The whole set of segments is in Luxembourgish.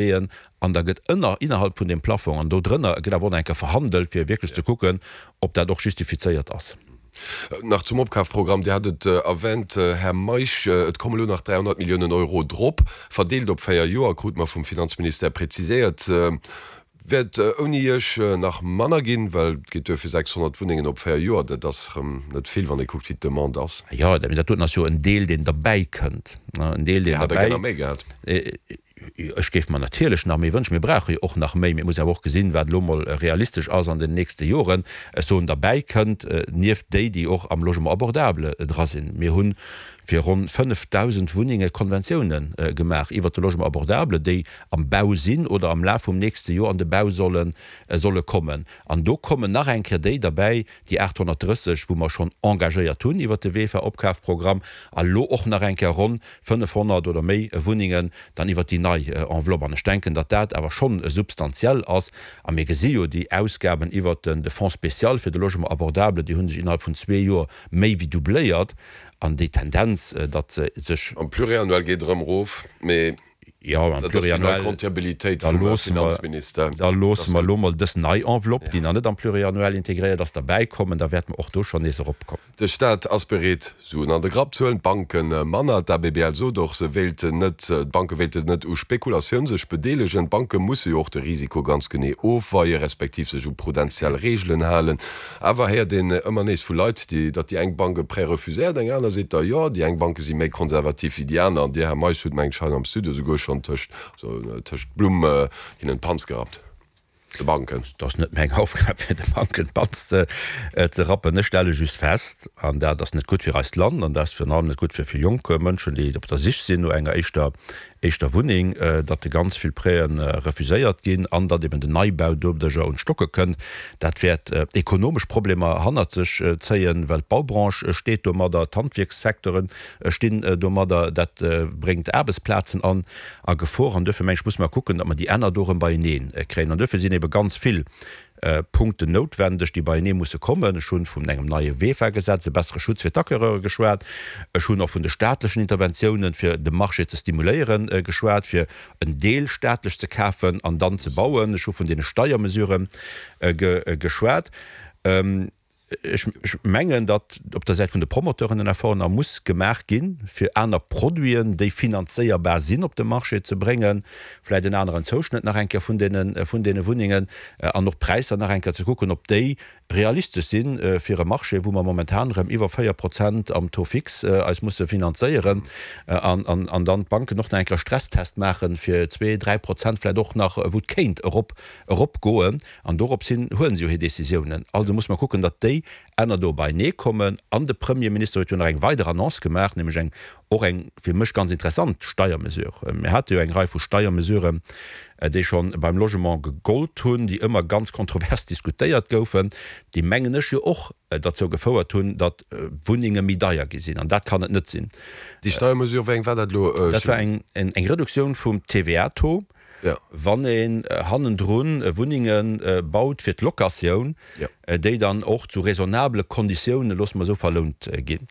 Leeën an da gëtt ënner, innerhalb vun deem Plafong an do drënner gëtt awer och nach eng Kéier verhandelt, fir wierklech ze kucken, ob dat och justifizéiert ass. Nach zum Opkafprogramm, Dir hat et erwänt, Här Meisch, et komme lo nach 300 Milliounen Euro drop, verdeelt op 4 Joer, krute mer vum Finanzministère präziséiert. Wäert ouni Iech nach manner ginn, well et geet duer fir 600 Wunnengen op 4 Joer. Dat ass erëm net vill, wann ee kuckt, wéi d'Demande ass. Jo, mee dat doten ass jo en Deel, deen derbäikënnt, en Deel, deen Dir hätt der gär nach méi gehat. Ech géif mer natierlech nach méi wënschen. Mir brauche jo och nach méi. Mee et muss een awer och gesinn, wat elo emol realistesch ass an den nächste Joren. Ech soen, derbäi kënnt, nieft déi, déi och am Logement abordable dra sinn. Mir hu fir ronn 5.000 Wunnenge Konventiounen gemaach iwwert de Logement abordable, déi am Bau sinn oder am Laf vum nächste Joer an de Bau solle solle kommen. An do kommen nach eng Kéier déi derbäi, déi 830, wou mer schonn engagéiert hunn iwwert de VEFA-Opkafprogramm, a lo och nach eng Kéier ronn 500 oder méi Wunnengen dann iwwert déi nei Enveloppe. An ech denken, datt dat awer schonn substantiell ass. A mir gesi jo déi Ausgaben iwwert de Fonds spécial fir de Logement abordable, déi hu sech innerhalb vun zwee Joer méi wéi doubléiert. An déi Tendenz, datt se sech. Am Pluriannuel geet erëm erof, mee Jo, am Dat ass déi nei Pluriannuel, Comptabilitéit da vum loosse mer, Finanzminister. da loosse mer elo mol dës nei Enveloppe, déi nach net am Pluriannuel integréiert ass, derbäikommen, da wäerte mer och do schonn nees eropkommen. De Staat ass bereet, Suen an de Grapp ze huelen, d'Banke manner. D'ABBL sot och, se wéilten net, d'Banke wéilten net u Spekulatioun sech bedeelegen. D'Banke musse jo och de Risiko ganz genee ofweien, respektiv sech u prudentiell Reegelen halen. Awer héiert een ëmmer nees vu Leit, déi, datt déi eng Bank e Prêt refuséiert, eng aner seet da jo. Déi eng Banke si méi konservativ wéi déi aner. An Dir, Här Meisch, hutt, mengen ech, hei am Studio souguer schonn tëscht, also tëscht d'Blumm hinnen d'Panz gerappt, de Banken. Et ass net meng Aufgab, fir de Banken d'Panz ze rappen. Ech stelle just fest, an dat ass net gutt fir eist Land an dat ass virun allem net gutt fir vill jonk Mënschen, déi op der Sich sinn no enger éischter éischter Wunneng, datt de ganz vill Prêten refuséiert ginn an datt eben den Neibau doduercher un d'Stocke kënnt. Dat wäert ekonomesch Problemer hannert sech zéien, well d'Baubranche steet domadder, d'Handwierkssecteure stinn domadder, dat bréngt Aarbechtsplazen an a Gefor. An duerfir meng ech, musse mer kucken, datt mer déi Enner do erëm beienee kréien. An duerfir sinn ebe ganz vill Punkten noutwendeg, déi beienee musse kommen. Ech hunn vun engem neie VEFA-Gesetz, e bessere Schutz fir d'Acquereure geschwat. Ech hunn och vun de staatlechen Interventiounen, fir de Marché ze stimuléieren, geschwat, fir en Deel staatlech ze kafen an dann ze bauen. Ech hu vun deene Steiermesurë geschwat. Ech mengen, datt op der Säit vun de Promoteuren en Effort nach muss gemaach ginn, fir aner Produiten, déi finanzéierbar sinn, op de Marché ze bréngen, vläicht en aneren Zouschnëtt nach eng Kéier vun deene, vun deene Wunnengen an och d'Präisser nach eng Kéier ze kucken, ob déi realistesch si fir e Marché, wou mer momentan erëm iwwer 4 Prozent am Taux fixe eis musse finanzéieren an, an dann d'Banken och nach eng Kéier e Stresstest maachen, fir zwee, 3 Prozent vläicht och nach, wou et kéint erop, eropgoen. An dorops hin huelen se jo hir Décisiounen. Also muss mer kucken, datt déi Enner do beienee kommen. An de Premierminister huet jo nach eng weider Annonce gemaach, nämlech eng, och eng fir mech ganz interessant Steiermesure. Mir hate jo eng Rei vu Steiermesuren, déi scho beim Logement gegollt hunn, déi ëmmer ganz kontrovers diskutéiert goufen, déi, mengen ech, jo och derzou gefouert hunn, datt Wunnenge méi deier gi sinn. An dat kann et net sinn. Déi Steiermesure, wéi eng war dat elo? Dat war eng Reduktioun vum TVA-Taux. Wann een hannendrun Wunnenge baut fir d'Locatioun, déi dann och zu raisonnabele Konditiounen, loosse mer esou, verlount ginn.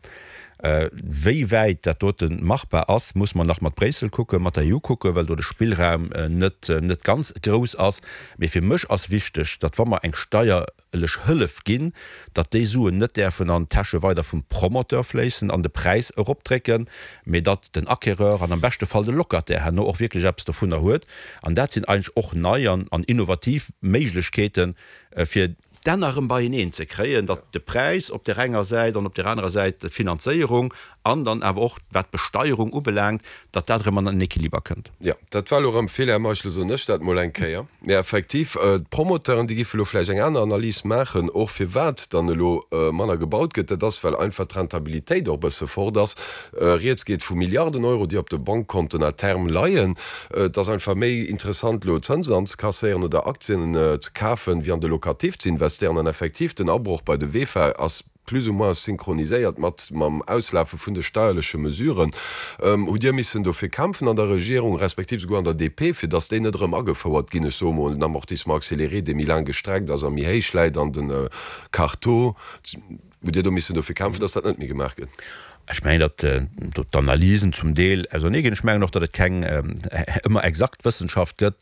Wéi wäit dat dote machbar ass, muss mer nach mat Bréissel kucken, mat der EU kucken, well do de Spillraum net net ganz grouss ass. Mee fir mech ass wichteg, datt wa mer eng Steier lech Hëllef ginn, datt déi Suen net däerfen an d'Täsche weider vum Promoteur fléissen an de Präis eropdrécken, mee datt den Acquéreur an am beschte Fall de Locataire herno och wierklech eppes dovunner huet. An dat sinn eigentlech och nei an innovativ Méiglechkeeten, fir d'Enner erëm beieneen ze kréien, datt de Präis op där enger Säit an op där anerer Säit d'Finanzéierung an dann awer och wat d'Besteierung ubelaangt, datt dat erëm an en Equiliber kënnt. Jo, dat war elo erëm vill, Här Meischel, soen ech dat mol eng Kéier. Mee effektiv, d'Promoteuren, déi géife elo vläicht eng aner Analys maachen, och firwat dann elo manner gebaut gëtt. Dat ass, well einfach d'Rentabilitéit och e bësse fort ass. Rieds geet vu Milliarden Euro, déi op de Bankkonten à terme leien. Et ass einfach méi interessant, elo Zënsen anzekasséieren oder Aktien ze kafen, wéi an de Locatif ze investéieren. An effektiv, den Abroch bei de VEFA ass plus ou moins synchroniséiert mat mam Auslafe vun de steierleche Mesuren. Hutt Dir missen dofir kämpfen an der Regierung, respektiv souguer an der DP, fir datt déi net erëm agefouert ginn, ech soe mol den Amortissement accéléré, dee méi laang gestreckt ass a méi héich läit, an de Carteau? Hutt Dir do missen dofir kämpfen, datt dat net méi gemaach gëtt? Ech mengen, datt do d'Analysen zum Deel ausernee ginn. Ech mengen och, datt et keng ëmmer exakt Wëssenschaft gëtt.